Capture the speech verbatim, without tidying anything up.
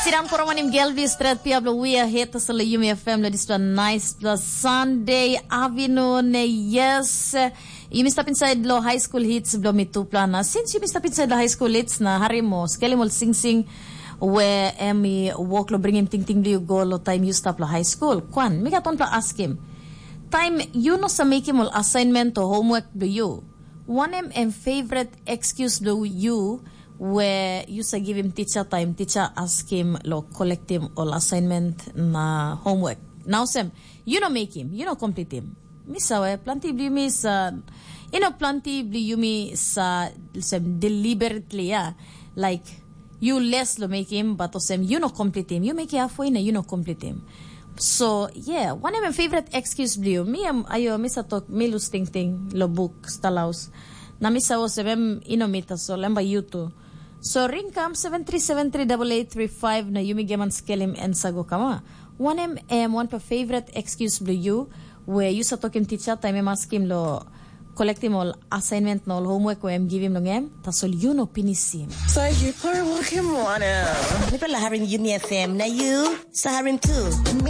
Tiran poromanim Gelbi stret pia blo wia het tasol yumi F M lo dispela nice pela Sunday afternoon. Yes. Yumi stap inside lo high school hits blo mi tupla na since yumi stap inside lo high school hits na hari mo skelim ol sing sing we em i work lo bringim ting ting blo go lo time you stap lo high school. Kwan, mi gat on pla askim. Time you no sa making ol assignment or homework blo you. Wanem em favorite excuse blo you we yu sa givim ticha taim ticha askim lo kolektim ol assignment na homework. Na olsem, yu no mekim, yu no komplitim. Mi save, planti bli yumi sa, yu no planti bli yumi sa, olsem, deliberately, ya. Like, yu les lo mekim, but olsem, yu no komplitim. Yu mekim halfway na yu no komplitim. So, yeah, wanem em favorite excuse bli yu? Mi em, ayo, mi sa tok, mi lus tingting lo buk, stalaus. Na mi sa olsem, em ino mi tasol, em bai yu tu. So ring kam seven three seven three double eight three five na yumi geman skelim en sa go kama. Wanem em wanpela favorite excuse bli yu we yu sa tokim ticha taim em askim lo kolektim ol assignment na ol homework we em givim long em, tasol yu no pinisim. So you put work him one out. Mipela harim Yumi F M na yu sa harim tu.